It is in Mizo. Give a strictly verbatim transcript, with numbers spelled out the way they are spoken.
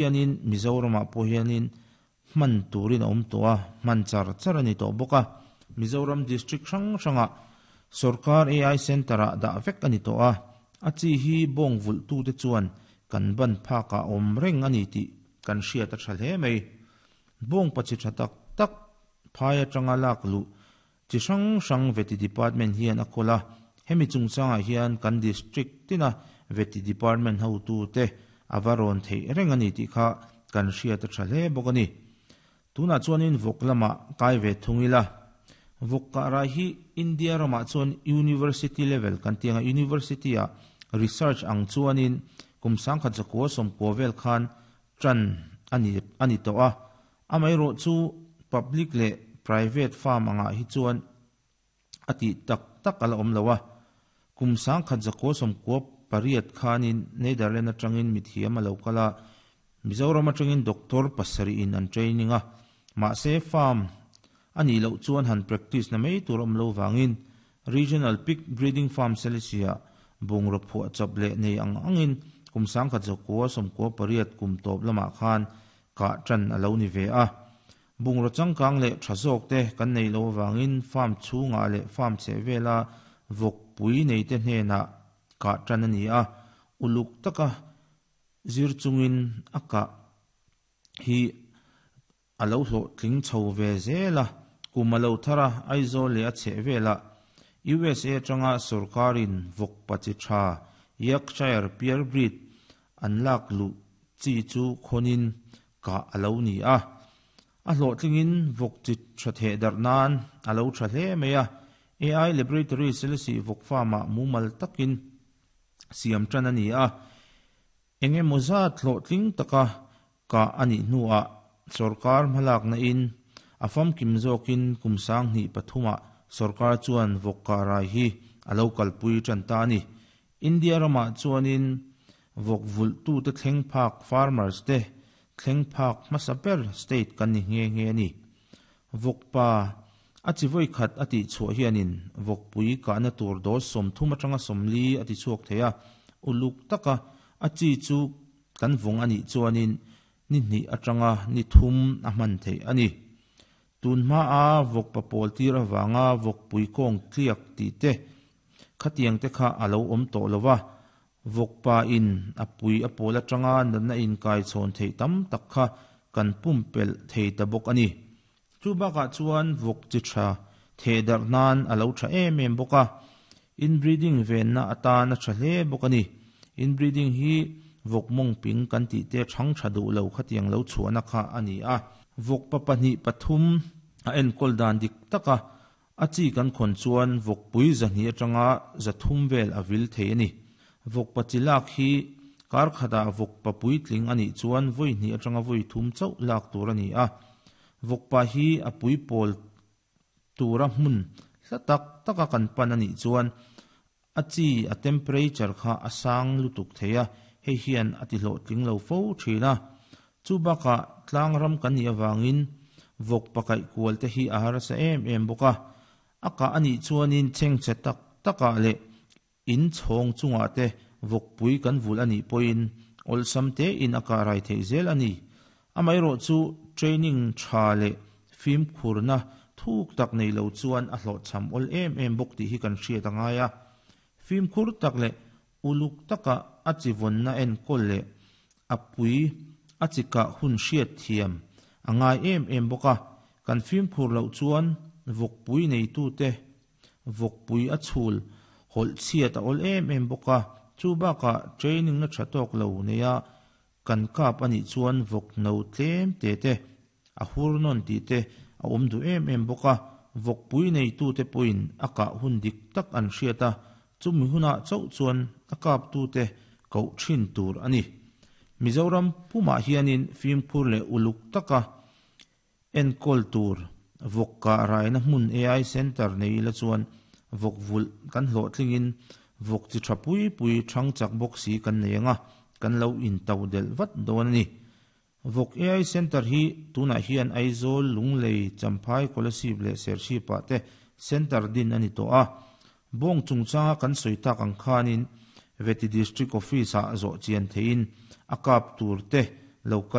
Hianin Mizoramah pawh hianin hman turin a awm tawh a, hman char char a ni tawh bawk a. Mizoram district hrang hrangah sorkar A I Centre-ah dah vek a ni tawh a, a chi hi bawng vulhtute chuan kan ban phakah awm reng a ni tih kan hriat a tha hle mai. Bawng pachi tha tak tak phai atanga lak luh chi hrang hrang Vety Department hian a kawl a, hemi chungchangah hian kan district tina Vety Department hotute a va rawn theih reng a ni tih kha kan hriat a tha hle bawk a ni. Tunah chuanin vawk lamah kai ve thung ila. Vawk kah rai hi India ramah chuan university level kan ti anga university ah research ang chuanin kum sangkhat zakua sawmkua vel khan tan a ni a ni tawh a. Amaherawh chu public leh private farm angah hi chuan a tih tak tak a la awm lo a. Kum sangkhat zakua sawmkua pariat khanin Netherlands atangin mithiam a lo kal a, Mizoram atangin doctor pasarih in an training a. Mahse farm a nih loh chuan han practice na mai tur awm lo vangin Regional Pig Breeding Farm Selesih-ah bungraw phuah chawp leh nei ang angin kum sangkhat zakua sawmkua pariat kum tawp lamah khan kah tan a lo ni ve a. Bungraw changkang leh tha zawk te kan nei lo avangin farm chhungah leh farm chheh vela vawk pui nei te hnenah kah tan a ni a. Uluk taka zir chungin a kah hi a lo hlawh tling chho ve zel a. Kum a lo thar a, Aizawl leh a chheh velah U S A atanga sorkarin vawk pachi tha Yorkshire Pure Breed an lak luh chi chu khawnin kah a lo ni a. A hlawh tlingin vawk chi tha theh darh nan a lo tha hle mai a. A I Laboratory Selesih vawk farm-ah mumal takin siam tan a ni a. Engemaw zat hlawh tling taka kah a nih hnuah sorkar hmalakna in a famkim zawkin kum sang hnih pathumah sorkar chuan vawk kah rai hi a lo kalpui tan ta a ni. India ramah chuanin vawk vulhtute thleng phak farmers te thleng phak hmasa ber state kan ni nghe nghe a ni. Vawk pa a chi vawi khat a tih chhuah hianin vawk pui kahna tur dose sawmthum atanga sawmli a ti chhuak thei a. Uluk taka a chi chu kan vawng a nih chuanin ni hnih atanga ni thum a hman theih a ni. Tun hma a vawk pa pawl tir avanga vawk pui kawng tliak tih te khatiang te kha a lo awm tawh lo va. Vawk pa in a pui a pawl atanga natna in kai chhawn theih tam tak kha kan pumpelh thei ta bawk a ni. Chu bakah chuan vawk chi tha theh darh nan a lo tha em em bawk a. Inbreeding venna atan a tha hle bawk a ni. Inbreeding hi vawk mawng ping kan tih te thang tha duh lo khatiang lo chhuahna kha a ni a. Vawk pa pahnih pathum a enkawl dan dik taka a chi kan khawn chuan vawk pui zahnih atanga zathum vel a vil thei a ni. Vawk pa chi lak hi kar khatah vawk pa puitling a nih chuan vawi hnih atanga vawi thum chauh lak tur a ni a. Vawk pa hi a pui pawl tura hmun hla tak taka kan pan a nih chuan a chi a temperature kha a sang lutuk thei a, hei hian a ti hlawh tling lo fo thin a. Chu bakah tlang ram kan nih avangin vawk pakaih kual te hi a harsa em em bawk a. A kah a nih chuanin chhengchhe tak takah leh in chhawng chungah te vawk pui kan vulh a nih pawhin awlsam te in a kah rai theih zel a ni. Amaherawh chu training tha leh fimkhurna thuk tak nei lo chuan a hlawh cham awl em em bawk tih hi kan hriat a ngai a. Fimkhur tak leh uluk taka a chi vawnna enkawl leh a pui a chi kah hun hriat thiam a ngai em em bawk a. Kan fimkhur loh chuan vawk pui neitute vawk pui a chhul hawlh chhiat a awl em em bawk a. Chu bakah training na tha tawk lo nei a kan kap a nih chuan vawk no tlem te te a hur nawn tih te a awm duh em em bawk a. Vawk pui neitute pawhin a kah hun dik tak an hriat a, chumi hunah chauh chuan a kaptute koh thin tur a ni. Mizoram pumah hianin fimkhur leh uluk taka enkawl tur vawk kah raina hmun A I Centre nei ila chuan vawk vulh kan hlawh tlingin vawk chi tha pui pui thang chak bawk si kan nei anga kan lo in to del vat dawn a ni. Vawk A I Centre hi tunah hian Aizawl Lunglei Champhai Kolasib leh Serchhipah te Centre din a ni tawh a. Bawng chungchanga kan sawi tak ang khanin Vety District Office-ah zawh chian theiin a kap tur te Local